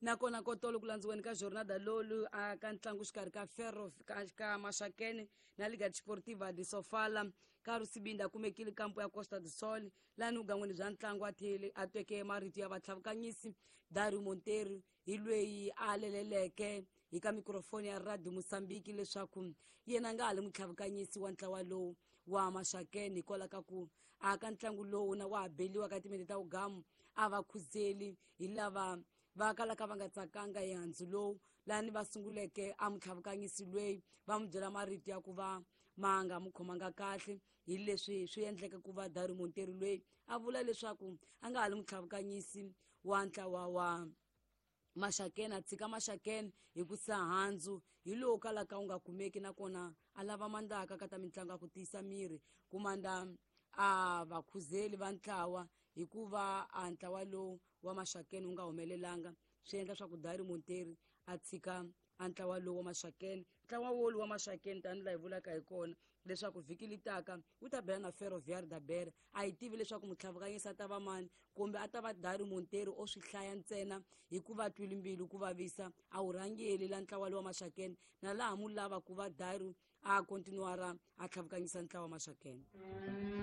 Nakona kotolo ku landziweni ka Jornada lolu a ka ntlangu xikarhi ka Ferro ka Maxakene na Liga Desportiva de Sofala. Ka Rusibinda kumekile kampo ya Costa do Sol lani vugangweni bya ntlangu a tlhele a tweke marito ya vatlhavukanyisi Dario Monteiro hi lweyi a leleleke hi ka mikrofoni ya Radio Mozambique leswaku yena nga ha li mutlhavukanyisi wa ntlawa lowu wa Maxakene hikwalaho ka ku a ka ntlangu lowu na wa ha beliwa ka timende ta vugamu a va khuzeli hi lava va kalaka va nga tsakanga hi handzu lowu lani va sunguleke a mutlhavukanyisi lweyi va n'wi byela marito ya ku va ma nga n'wi khomanga kahle hi leswi swi endleke ku va Dario Monteiro lweyi a vula leswaku a nga ha li mutlhavukanyisi wa ntlawa wa Maxakene, a tshika Maxakene hi ku sa handzu hi lowu kalaka wu nga kumeki, nakona a lava mandzaka ka ta mitlangu ya ku tiyisa miri kumanda a vakhuzeli va ntlawa hikuva a ntlawa lowu wa Maxakene wu nga humelelanga, swi endla swa ku Dario Monteiro a tshika a ntlawa lowu wa Maxakene. Ntlawa wolu wa Maxakene tanihi laha hi vulaka hi kona leswaku vhiki li taka wu ta bela na Ferroviário da Beira. A hi tivi leswaku mutlhavukanyisi a ta va mani kumbe a ta va Dario Monteiro o swi hlaya ntsena hikuva twile mbilu ku vavisa a wu rhangeli la ntlawa lowu wa Maxakene, na laha mu lava ku va Dario a continuara a tlhavukanyisa ntlawa wa Maxakene.